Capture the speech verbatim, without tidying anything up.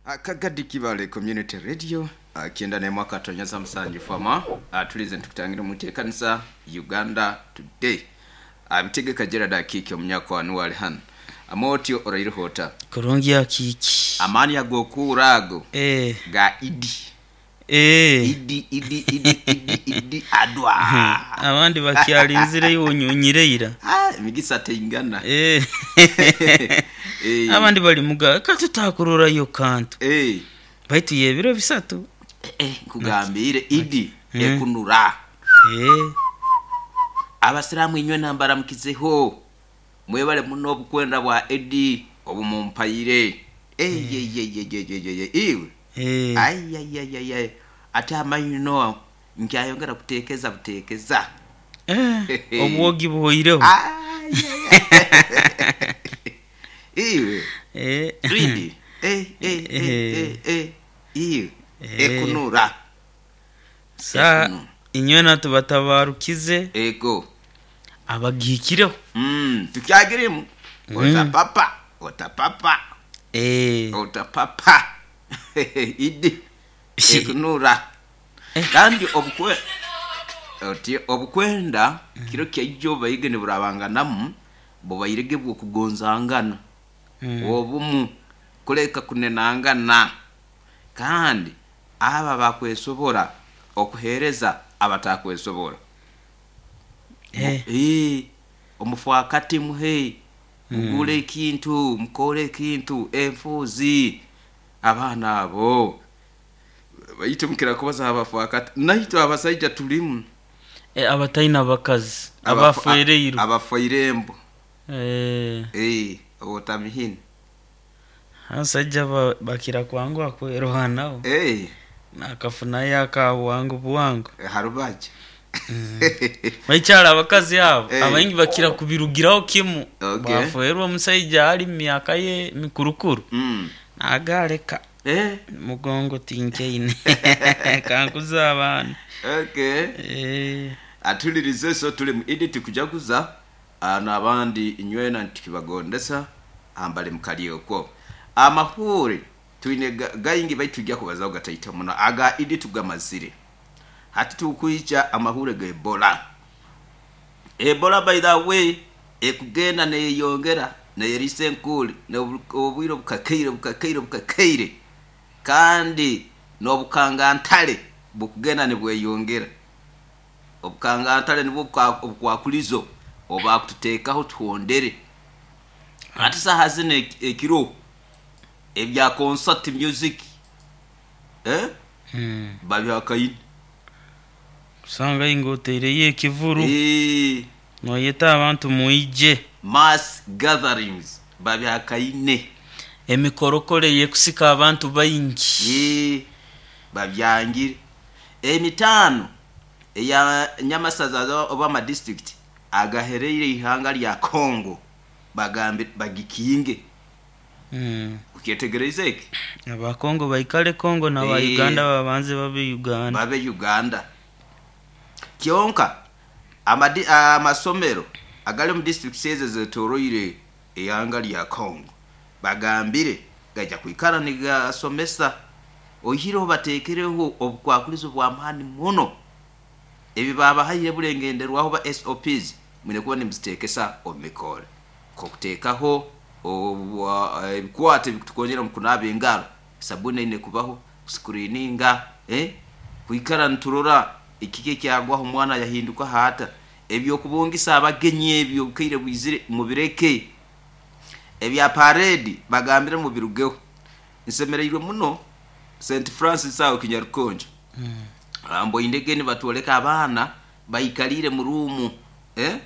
Akagadi Kibale Community Radio, kyenda n'emwe akatonyeza musanju fama. Tulize ntukutangira omuteekanisa Uganda Today. Bitegeka Gerard Akiiki, omunyakwanu wali hano amotyo oraireho ota? Kurungi, Akiiki. Amaani agokuura ago Eh, ga Idi. eh. Idi, Idi, Idi, Idi, Idi adwa. Abandi bakyalinzire, iwe onyonyireira. Ah, emigisa teingana. Eh. Eh, abandi bali muga katutakururayo kantu, eh, baitu yebiro bisatu. eh, nkugambire Idi ekunura. Eh, Abasiraamu inywe nambaramukizeho, mwebale muno obukwenda bwa Edi obumumpaire. Eyeyeyeyeyeye, iwe. Eh. Ayayayaya, ate amaino nkyayongera kuteekeza buteekeza. Eh, obwogi buhoireho. Ayaya. Iwe. Eh. Idi. Eh, eh, eh, eh, eh, iwe. Eh. Ekunura. Sa Ekunura. Inywe natubatabarukize ego abagihikireho. Mm, tukyagirimu otapapa, otapapa. Eh. Otapapa, Idi ekunura. Kandi obukwe oti obukwenda kiro kyaijo baige niburabanganamu, bubairege bwokugonzangana, Mm. obumu, kuleka kunenangana, kandi aba bakwesobora okuhereza abatakwesobora. Eh. Eh, omufuakati muhe, mugule ekintu, mukole ekintu, enfuuzi abaana abo baitu mukira kubaza abafuakati, naitwe abasaija tulimu. Eh, abataina abakazi. Abafu- abafereirwe. Abafairembo. Eh, Eh, otamihini. Abasajja ba- bakira kwanguha kwerohanaho. Eh, nakafunayo akabwangu bwangu. Harubaja. Baikyala abakazi abo, Eh. abaingi bakira kubirugiraho kimu. Okay. Baferwa omusaija ali mu myaka ye mikurukuru, Mm. nagaleka. Eh, mugongo tinkeine kankuza abaana. Okay. Eh, Atulirize, so tuli mu Idi, tukujaguza ah, n'abandi inywena ntukibagondesa ambali mukali okwo. Amahure twine ga- gaingi, baitu tujja kubazaho gataita muno. Aga Idi tugamazire, hati tukwija amahure ga Ebola. Ebola, by the way, ekugenda neyeyongera, neyerisa enkuli obwire bukakaire, bukakaire, bukakaire, kandi n'obukangantale bukugenda nibweyongera. Obukangantale nibwo bukwa- obukwakulizo obakututeekaho tuhondere. Ati saha zino ek- ekiro ebya concert music, eh? mm. Babyakaine. Kusanga inga oteireyo ekivuru, Eh, noyeta abantu mwije. Mass gatherings babyakaine. Emikorokoro yekusika abantu baingi. Eh, babyangire. Emitaano eya nyamasaza oba amadistrict agahereire ihanga lya Congo, bagambe bagikinge. Mm. Ukyetegereza eki? Abakongo baikale Kongo naba Eh. Uganda babanze babe Uganda. Babe Uganda. Kyonka amadi- amasomero agali mu district ezo zetoroire ihanga lya Congo, bagambire gajja kwikara nigasomesa, oihireho batekereho obukwakulizo bw'amaani muno. Ebi babahaire bulengenderwaho ba S O Ps, mwine kuba nimuziteekesa omu mikore, nk'okuteekaho obwa- ebikwate ebikutukonyera mu kunaaba engaro, sabuni eine kubaho, kusikurininga, eh? Kwikara niturora ekiki ekyagwaho omwana yahinduka haata. Ebyokubungisa abagenyi ebyo obukaire bwizire, mubireke. Ebya parade bagambire mubirugeho. Nsemereirwe muno Saint Francis aho Kinyarukonjo, mm. Mboindege nibatwoleka abaana baikalire mu ruumu, eh?